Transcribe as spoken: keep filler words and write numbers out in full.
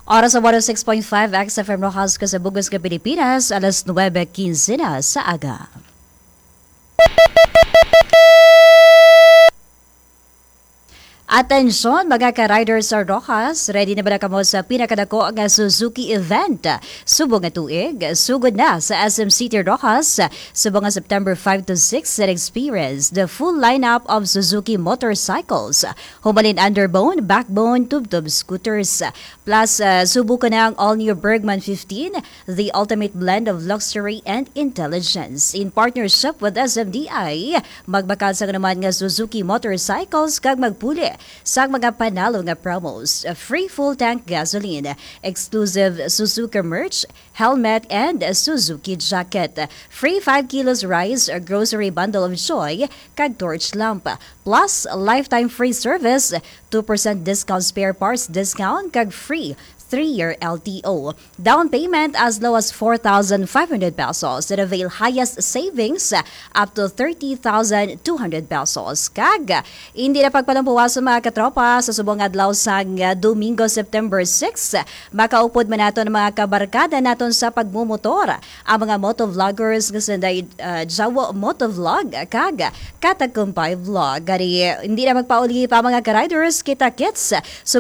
Oras sa one oh six point five X F M Rojas, Kasabugos nga Pilipinas, alas nuebe quince na sa aga. Atensyon, mga ka-riders sa Rojas, ready na ba na kamo sa pinakadako nga Suzuki event subong nga tuig? Sugod na sa S M City Rojas subong nga September five to six and experience the full lineup of Suzuki motorcycles. Humalin underbone, backbone, tubtub scooters. Plus, uh, subukan na ang all-new Bergman fifteen, the ultimate blend of luxury and intelligence. In partnership with S M D I, magbakal sa naman nga Suzuki motorcycles kag magpuli sa mga panalo nga promos. Free full tank gasoline, exclusive Suzuki merch, helmet, and Suzuki jacket. Free five kilos rice, grocery bundle of joy, kag torch lamp. Plus, lifetime free service, two percent discount spare parts discount, kag free three-year L T O. Down payment as low as four thousand five hundred pesos and avail highest savings up to thirty thousand two hundred pesos. Kag hindi na pagpalampuwas sa mga katropa sa subong adlaw sang, uh, Domingo, September six. Makaupod man naton ang mga kabarkada naton sa pagmumotor, ang mga motovloggers nga sanday, uh, Jawo Motovlog kag Katakumpay Vlog. Gani, hindi na magpauli pa, mga ka-riders, kita-kits subong